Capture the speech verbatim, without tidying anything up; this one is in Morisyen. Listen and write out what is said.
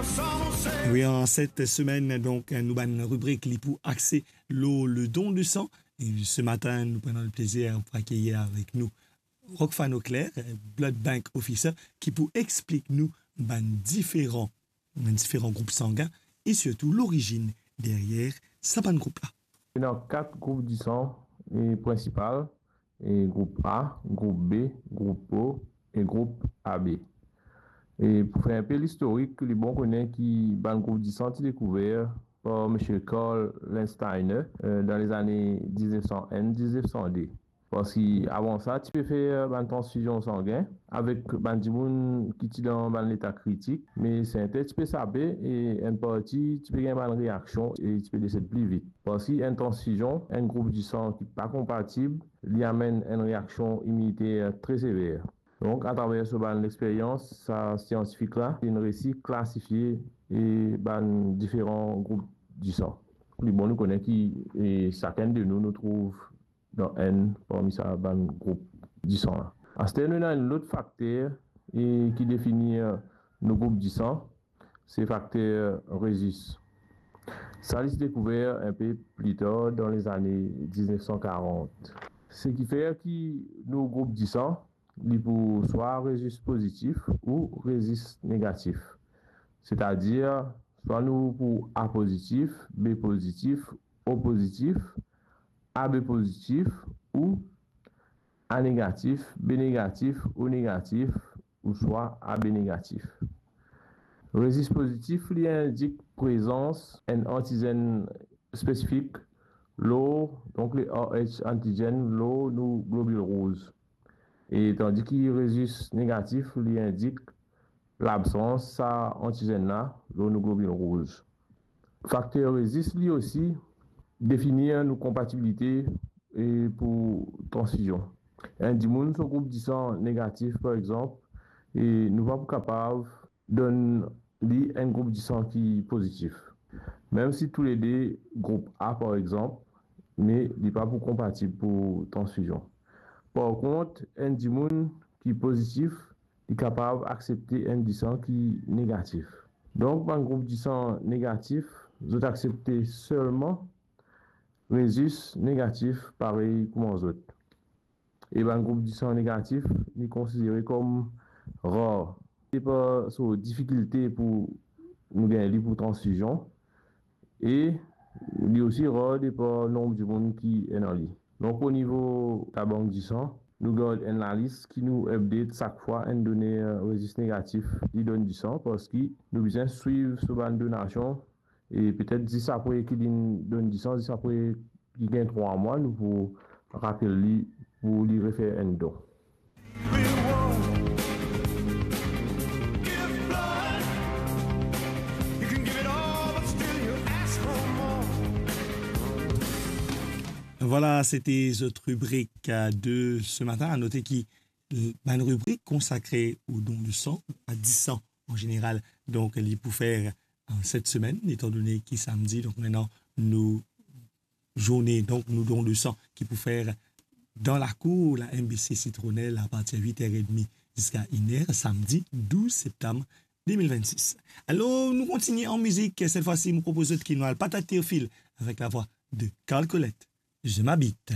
Wi, an set semenn, donk, nou bann ribrik li pou axe lor le don de san. E se matin, nou pran le plezir pou akeyir avek nou Rockfan Auclair, Blood Bank Officer, ki pou explik nou bann diferan, bann diferan group sangin e sirtou lorizinn deryer sa bann group la. Ena kat group disan, e, prinsipal, e, group A, group B, group O e group A B. E pou fer inpe listorik, li bon kone ki bann group disan ti dekouver par Misie Karl Landsteiner, e, dan lezane diznef san enn, diznef san de. Parski avan sa, ti pe fer bann transfizion sangin avek bann dimoun ki ti dan bann leta kritik, me sertin ti pe sape e enn parti ti pe gagn bann reaksion e ti pe desed pli vit. Parski enn transfizion, enn group disan ki pa konpatib, li amenn enn reaksion iminiter tre sever. Donk, atraver so bann lexperyans, sa siantifik la, linn resi klasifie, e, bann diferan group disan. Li bon nou kone ki, e, sakenn de nou, nou trouv dan enn parmi sa bann group disan la. Aster, nou ena enn lot fakter, e, ki defini, e, nou group disan, se fakter Rhesus. Sa li ti dekouver inpe pli tar dan lezane diznef san karant. Seki fer ki nou group disan, li pou swa Rhesus pozitif ou Rhesus negatif. Setadir, swa nou pou A pozitif, B pozitif, O pozitif, A B pozitif ou A negatif, B negatif, O negatif, ouswa A B negatif. Rhesus pozitif, li indik prezans enn antizenn spesifik lor, donk le Rh antigen lor nou globil rouz. E tandi ki Rhesus negatif, li indik labsans sa antizenn la lor nou globil rouz. Fakter Rhesus, li osi, defini nou konpatibilite, e, pou transfizion. Enn dimoun so group disan negatif, par exanp, e nou pa pou kapav donn li enn group disan ki pozitif. Mem si toulede group A, par exanp, me li pa pou konpatib pou transfizion. Par kont, enn dimoun ki pozitif, li kapav aksepte enn disan ki negatif. Donk, bann group disan negatif, zot aksepte selman Rhesus negatif parey kouma zot. E bann group disan negatif, li konsidere kom rar. Depa so difikilte pou nou gagn li pou transfizion, e li osi rar depa nonb dimoun ki ena li. Donk, o nivo labank disan, nou gard enn lalis ki nou update sak fwa enn doner Rhesus negatif li donn disan, parski nou bizin swiv so bann donasion, e petet zis apre ki linn donn disan, zis apre ki gagn trwa mwa, nou pou rapel li pou li refer enn don. Vwala, sete zot ribrik, euh, de se matin. A note ki, euh, bann ribrik konsakre o don de san, a disan an zeneral, donk li pou fer, euh, set semenn, etandone ki samdi, donk nou ena nou zourne, donk nou don de san ki pou fer dan lakour la M B C Citronelle apartir wit er edmi ziska enn er, samdi douz septam de mil vennsis. Alor, nou kontigne an mizik. Set fwa si, mo propoz zot ki nou al Patate Théophile avek lavwa de Carl Colette, Je m'habite.